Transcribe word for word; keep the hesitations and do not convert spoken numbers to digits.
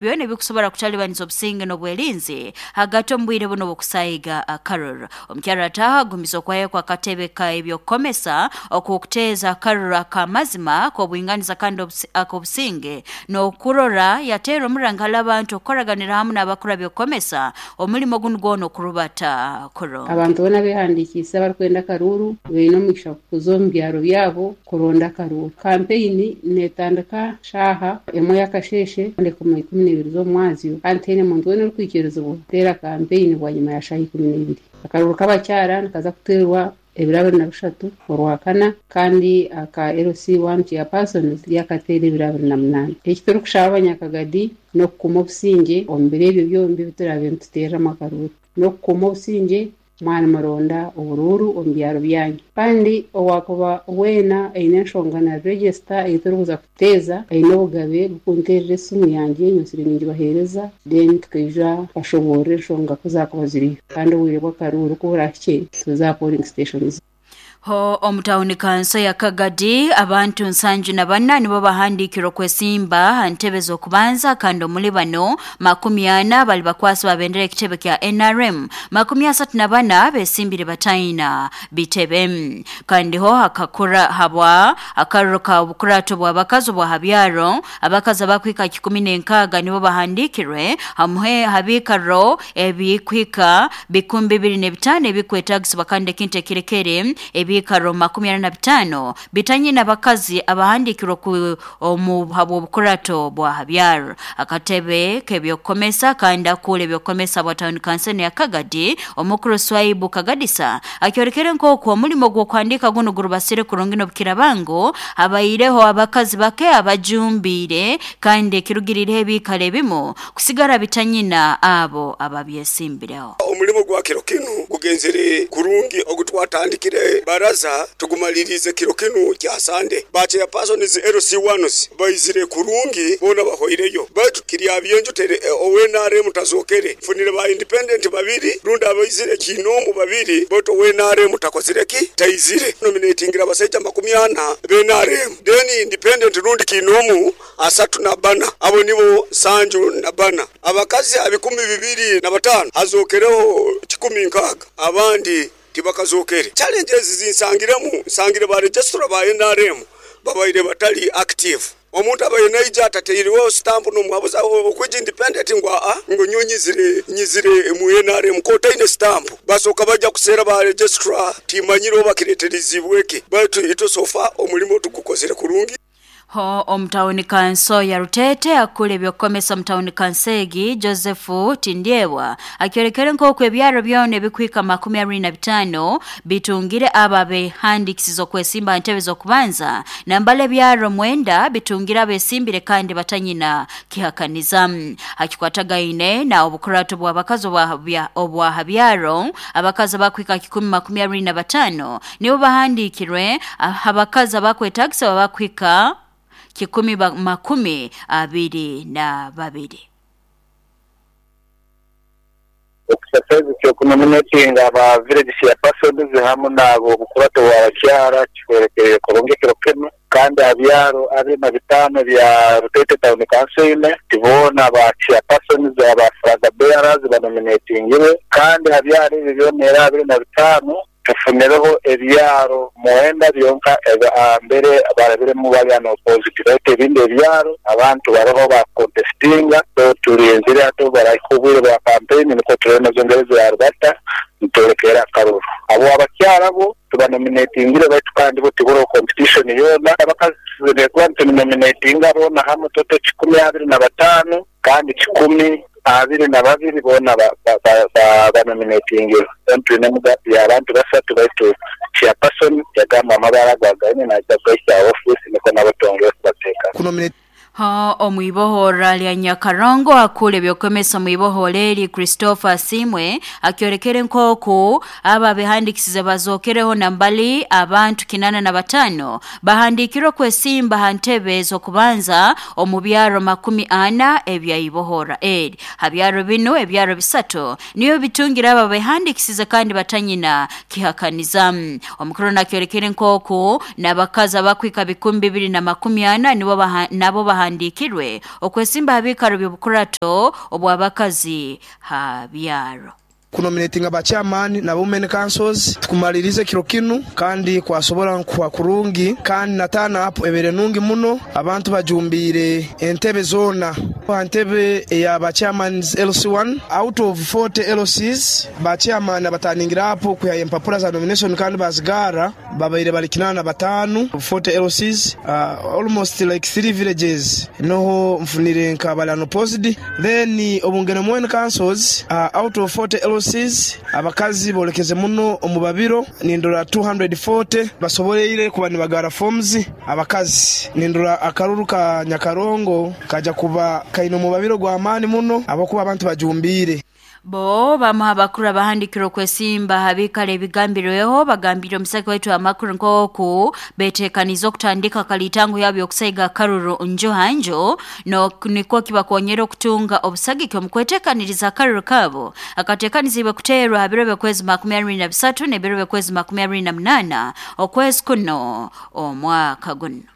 Byona ebikusobora kutalibaniza obusinge n'obwerinzi hagati omu bwire buno bw'okusaiga akaruru. Omukyara ataha agumiza okwayo kwa katebe ka ebyokukomesa okwokuteeza akaruru ak'amazima k'obwinganiza kandi ak'obusinge n'okurora yateera omuranga hali abantu okukoraganira hamu n'abakuru byokukomesa omulimo gunu gwona okurubata kurungi. Abantu boona behandikiise abarikwenda akaruru baine omugisha kuza omu byaro byabo kuronda akaruru. Kampeyini neetandika shaaha emwe y'akasheeshe ndekuma ikumi n'ebiri z'omwazyo kandi tihaine muntu weena orikwikirizibwa kuteera kampeyini bwanyima ya shaaha ikumi n'ebiri. Akaruru k'abakyara nikaza kuteerwa ebiro abiri na bishatu orwakana kandi aka L C one chairpersons ryakateera ebiro abiri na munaana. Eki turikushaba abanyakagadi n'okukuma obusingye omu biro ebyo byombi ebi turaabe nituteeramu akaruru. N'okukuma obusingye mwana muronda oburuuru omu byaro byanyu. Kandi owakuba weena aine enshonga na register ei turikuza kuteeza aine obugabe bw'okunteerera esimu yangye nyonsire ningibaheereza then tukaija bashoboorora enshonga ku zaakuba ziriyo. Kandi obwire bw'akaruuru ku buraahikye tuza polling stations. Ho omutawuni kanso ya Kagadi abantu nsanju na bana nibo bahandikirwe okwesimba ntebe z'okubanza kandi omuli bano makumi ana bali bakwasi babendera ekitebe kya N R M, makumi asatu na bana besimbire bataina bitebe. Kandi ho hakakura habwa akaruru ka obukurato bw'abakazi bwa habyaro abakazi abakwika kikumi n'enkaaga nibo bahandikirwe hamwe habikaro ebikwika bikumi bibiri n'ebitaano ebikwetagisibwa kandi ekintu ekirekere ebikaro makumi ana na bitano bitanye n'abakazi abahandikirwe ku omu habw'obukurato bwa habyaro. Akatebe k'ebyokukomesa kandi akura ebyokukomesa bwa town council ya Kagadi omukuru Swaibu Kagadisa akyorekere nk'oku omulimo gw'okuhandika guno gurubasire kurungi n'obukirabango abaireho abakazi bake abajumbire kandi ekirugirireho ebikaro ebimu kusigara bitanyina abo ababyesimbireho. Omulimo gwa kiro kinu gugenzere kurungi ogutwatandikire baraza tugumalirize kiro kinu kya Sande. Ba chairpersons L C ones baizire kurungi bona bahoireyo baitu kirya byenju tere owe N R M tazokere funire ba independent babiri runda abaizire kinomu babiri boto owe N R M takozireki taizire nominatingira abasaija makumi ana be N R M then independent rundi kinomu asatu na bana abo nibo sanju na bana abakazi abikumi bibiri na batano hazokereho kikumi nkaga abandi tibakazokere. Challenges zinsangiremu nsangire ba registrar ba N R M babaire batali active. Omuntu abaye naija atateiriweho stamp n'omuhabuza okwija independent ngu aa ngu nyonyizire nyizire mu N R M ko taine stamp basoka bajja kuseera ba registrar timanyire oba kireeterizibweke baitu ito sofa omulimo tugukozere kurungi. Ho omutawuni kanso ya Rutete akule ebyokukomesa omutawuni kansegi Joseph Tindyewa akyorekere nk'oku ebyaro byona ebikwika makumi abiri na bitaano bitungire aba behandikisize okwesimba ntebe z'okubanza nambala ebyaro mwenda bitungire abesimbire kandi batanyina kihakaniza. Hakikwatagaine na obukurato bw'abakazi obwa habyaro abakazi abakwika kikumi makumi abiri na bataano nibo bahandikirwe abakazi abakwetagisa bakwika kikumi makumi abiri na babiri. Exercise kyokunominatinga aba village chairpersons hamwe nabo obukurato bw'abakyara kikwerekere kurungi kiro kinu kandi abyaro abiri na bitano bya Rutete Town Council tibona ba chairpersons aba flag bearers banominatingire kandi abyaro ebyo byona abiri na bitano tufunereho ebyaro muhenda byonka mbere barabiremu bali no positive rate ebindi ebyaro abantu baroho ba contestinga so tulinzire ato barakubwire ba campaign niko turena zongereza ya Rubata ntorekera akaruru abo abakyara bo tubanominatingire baitu kandi bo tiboro competition yona abakazi bekuba tunominatinga bona hamwe toto kikumi abiri na batano kandi kikumi abiri na babiri bona banominatingire tulina mugapi abantu basatu baitu chairperson yagamba amabara gwagaine najja kugaisa office niko nabo twongere kubateeka. Ha omwibohora lya Nyakarongo akule ebyokomesa mwibohora eri Christopher Simwe akyorekere nk'oku aba behandikisize bazokereho nambali abantu kinana na batano bahandikirwe kwesimba ha ntebe z'okubanza omu byaro makumi ana ebya ibohora eri. Habyaro bino ebyaro bisatu niyo bitungira aba behandikisize kandi batanyina kihakaniza. Omukuru nakyorekere nk'oku n'abakazi abakwika bikumi bibiri na makumi ana nibo nabo bahandikirwe abahandikirwe okwesimba abikaro by'obukurato obw'abakazi ha byaro. Kunominatinga ba chairman na women councils tukumalirize kiro kinu kandi kwasobora kwa kurungi kandi natana apo ebere nungi muno abantu bajumbire entebe zona entebe ya ba chairmans L C one out of forty L Cs ba chairman abataningira apo kuya empapura za nomination kandi bazigara babaire bali kinana batanu forty L Cs uh, almost like three villages noho mfunire nka balano posted then obungene women councils uh, out of forty L Cs abakazi bolekeze muno omubabiro nindura two hundred forty basoboleire kuba nibagara forms abakazi nindura akaruru ka Nyakarongo kaja kuba kaino mubabiro gwa amani muno abakuba abantu bajumbire. Bo bamuha abakuru abahandikira okwesimba habikale ebigambirweho bagambire omusaki waitu amakuru nk'oku betekaniza okutandika kalitango yabo okusaiga akaruru njo hanjo no nikwo kibakonyera okutunga obusagiki omu kwetekaniriza akaruru kabo akatekanizibwe kuteerwa ha biro by'okwezi makumi abiri na bisatu n'ebiro by'okwezi makumi abiri na munaana okwezi kuno omwaka guno.